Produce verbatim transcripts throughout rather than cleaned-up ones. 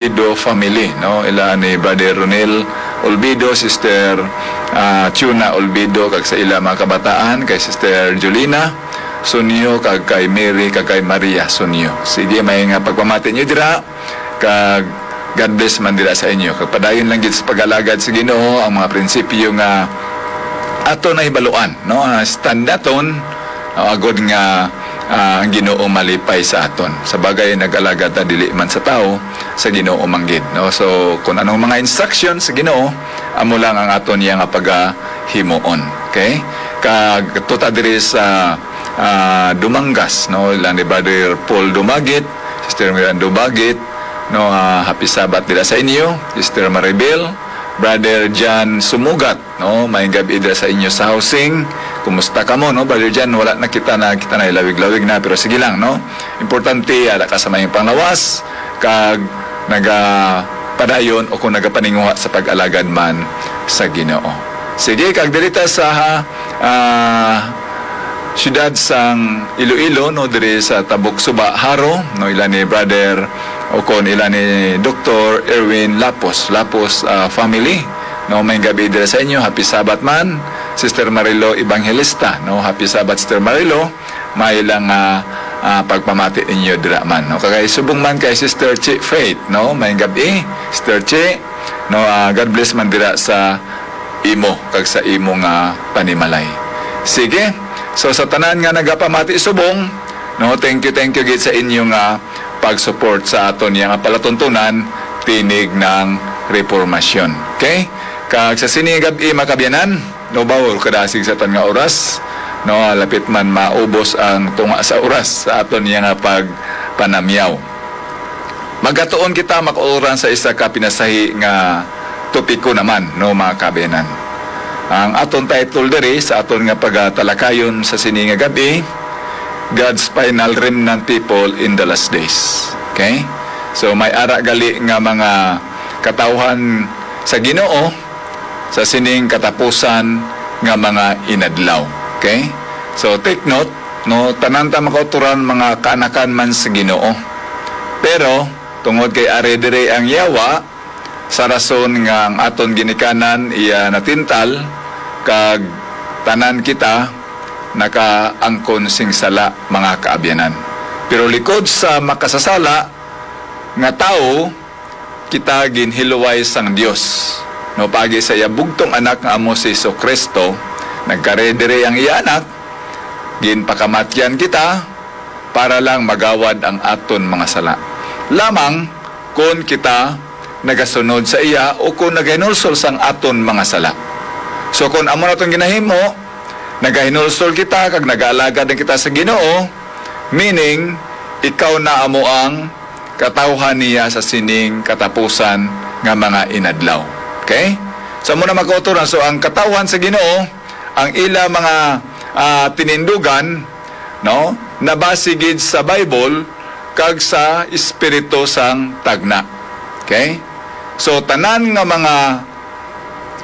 Olvido family, no? Ila ni Brother Ronel Olvido, Sister, ah, Chuna Olvido, kag sa ila mga kabataan, kay Sister Julina Sunyo, kag kay Mary, kag kay Maria Sunyo. Sige, may nga pagpamati niyo dira, kag God bless man dira sa inyo. Kag padayon lang gid sa pag-alagad sa Ginoo ang mga prinsipyo nga ato na hibaluan, no? Ah, stand naton, ah, agod nga, ah, ang Ginoo malipay sa aton. Sa bagay, nag-alagad ta dili man sa tawo, sa Ginoo man gid, no? So, kung anong mga instruction sa Ginoo, amo lang ang aton niya nga pagahimuon. Okay? Kag tuta diri sa, ah, Dumangas, no? Ila ni Brother Paul Dumagit, Sister Miranda Dumagit, no? Ah, happy Sabbath dira sa inyo, Sister Maribel, Brother John Sumugat, no? Maayong gabi dira sa inyo sa housing. Kumusta kamo, no? Brother John, wala na kita na, kita na ilawig-lawig na, pero sige lang, no? Importante, ara ka sa maayong panglawas, kag nagapadayon o kung nagapaninguha sa pag-alagad man sa Ginoo. Sige, kag diri ta sa, ah, siyudad sang Iloilo, no, diri sa Tabok Suba, Jaro, no, ila ni Brother o kon ila ni Doktor Erwin Lapos, Lapos, ah, family, no, maayong gabi dira sa inyo. Happy Sabbath man, Sister Marilo Evangelista, no, happy Sabbath, Sister Marilo. May lang, ah, ah, pagpamati ninyo dira man, no, kag subong man kay Sister Chi Faith, no, maayong gabi, Sister Chi, no, ah, God bless man dira sa imo kag sa imo nga panimalay. Sige, so sa tanan nga nagapamati subong, no, thank you, thank you gid sa inyo nga pag-support sa aton niya nga palatuntunan, Tinig ng Reformasyon. Okay? Kag sa sini nga gab-i, mga kaabyanan, no, bawal kadasig sa tan nga oras, no, lapit man maubos ang tunga sa oras sa aton niya nga pagpanamyaw. Magatuon kita, makauran, sa isa ka pinasahi nga topiko naman, no, mga kaabyanan. Ang aton title diri sa aton nga pagatalakayon sa sini nga gab-i, God's Final Remnant People in the Last Days. Okay? So, may ara gali nga mga katawhan sa Ginoo sa sining katapusan nga mga inadlaw. Okay? So, take note, no, tanan ta makauturan mga kaanakan man sa Ginoo. Pero, tungod kay ari diri ang yawa, sa rason nga ang aton ginikanan iya natintal, kag tanan kita nakaangkon sing sala, mga kaabyanan. Pero likod sa makasasala nga tawo, kita ginhiluway sang Dios, no, paagi sa iya bugtong Anak nga amo si Jesu-Cristo. Nagkari diri ang iya Anak, ginpakamatyan kita para lang magawad ang aton mga sala. Lamang kon kita nagasunod sa iya o kon nagahinulsol sang aton mga sala. So, kon amo naton ginahimo, nagahinulsol kita kag nagaalagad na kita sa Ginoo, meaning, ikaw na amo ang katawhan niya sa sining katapusan nga mga inadlaw. Okay? So, amo na, mga kauturan. So, ang katawhan sa Ginoo, ang ila mga, ah, tinindugan, no, nabase gid sa Bible kag sa espiritu sang tagna. Okay? So, tanan nga mga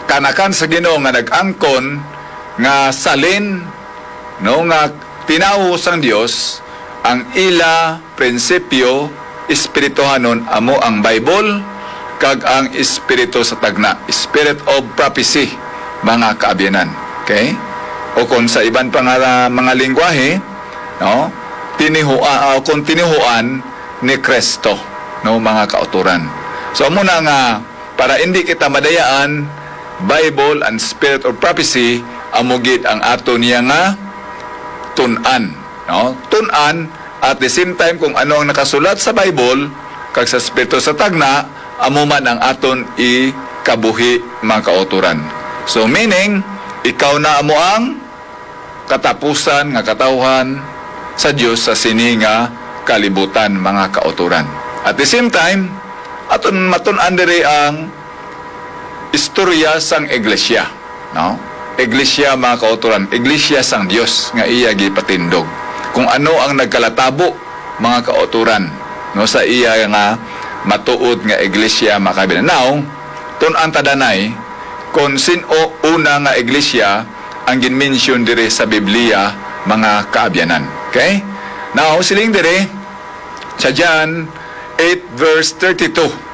kaanakan sa Ginoo nga nag-angkon nga salin, no, nga tinawo sang Dios, ang ila prinsipyo espirituhanon amo ang Bible kag ang espiritu sa tagna, spirit of prophecy, mga kaabyanan. Okay? O kung sa iban pa nga mga lingwahe, no, tinihu-, ah, o kung tinihuan ni Kristo, no, mga kauturan. So, amo na nga, para hindi kita madayaan, Bible and spirit of prophecy, amo gid ang ato niya nga tun-an, no? Tun-an, at the same time, kung ano ang nakasulat sa Bible kag sa espiritu sa tagna, amo man ang aton ikabuhi, mga kauturan. So, meaning, ikaw na amo ang katapusan nga katawhan sa Dios sa sini nga kalibutan, mga kauturan. At the same time, aton matun-an diri ang istorya sang iglesia, no? Iglesia, mga kauturan, iglesia sang Dios nga iya gipatindog. Kung ano ang nagkalatabo, mga kauturan, no, sa iya nga matuod nga iglesia, mga kaabyanan. Now, tun-an ta danay kung sin-o una nga iglesia ang ginmention diri sa Biblia, mga kaabyanan. Okay? Now, siling diri sa John eight verse thirty-two.